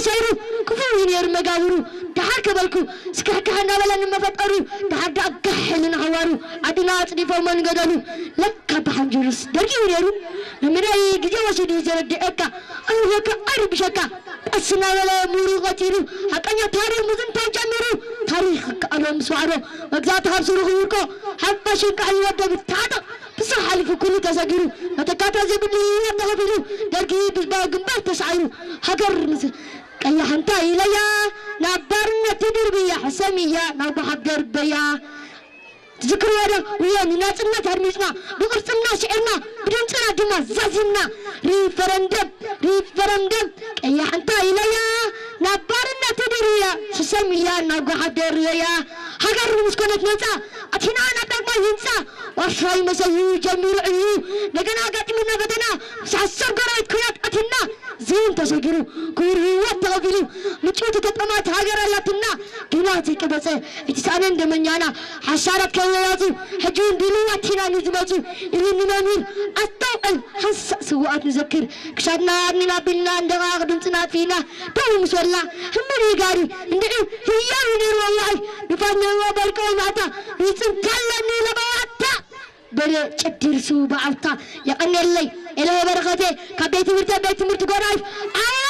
ሰይሩ ክፉእ እዩ ነይሩ መጋብሩ። ደሓር ከበልኩ ስክሕክሕ እናበለኒ መፈጠሩ። ደሓር ደኣ ጋሕ ኢሉ ንሃዋሩ ዓድና ኣጽዲፎሞ ንገደሉ። ለካ ብሓንጅሩስ ደርጊ እዩ ነይሩ። መምህረይ ግዜ ወሲዱ እዩ ዘረድኤካ። ኣይብለካ ኣይርብሸካ። ቀስ እናበለ ምሁሩ ቆጺሩ ሓቀኛ ታሪኽ ምዝንታው ጀሚሩ። ታሪኽ ክከኣሎ ምስ ዋዕሮ መግዛእቲ ካብ ስሩ ክውርቆ ሓባሽ እንቃዕ ይወደብ ታጠቕ ብስራሕ ሓሊፉ ኩሉ ተሰጊሩ መተካእታ ዘይብሉ ህይወት ተኸፊሉ ደርጊ ብዝባዊ ግንባር ተሳዒሩ ሃገር ምስ ቀያሕ እንታይ ኢለያ ናብ ባርነት ትድርብያ ሕሰምያ ናብ ጓሓፍ ደርበያ ትዝክርዎ ዶ እዮ ንናጽነት ኣድሚጽና ብቕርጽና ስዒርና ብድምጽና ድማ ዛዚምና ሪፈረንደም ሪፈረንደም ቀያሕ እንታይ ኢለያ ናብ ባርነት ትድርብያ ሕሰምያ ናብ ጓሓፍ ደርበያ ሃገር ምስ ኮነት ነጻ ኣቲና ናብ ዳግማይ ህንጻ ዋርሳይ መሰዩ ጀሚሩ እዩ እንደገና ኣጋጢሙና ፈተና ምስ ሓሳብ ጎረቤት ኩናት ኣቲና ዝን ተሰጊሩ ክቡር ህይወት ተኸፊሉ ምጭውቲ ተጠማት ሃገር ኣላትና ግና ዘይቀበጸ እቲ ሳእነን ደመኛና ሓሳራት ከወያዙ ሕጂ እውን ድልዋት ኢና ንዝመጹ ኢሉ ንመምህር ኣስተውዕል ሓንሳእ ስውኣት ንዘክር ክሳድና ኣርኒና ኣቢልና እንደቓቕ ድምፅና ኣጥፊእና ደው ምስ በልና ህምር ይጋሪ እንድዒ ህያው ይነይሩ ወላሂ ንፋስ ነይርዎ በርቀ ማታ ይፅንታ ኣለኒ ለበዋታ በለ ጨዲርሱ በዓልታ የቐንየለይ ኤለሆ በረኸቴ ካብ ቤት ትምህርቲ ቤት ትምህርቲ ጎራይ ኣያ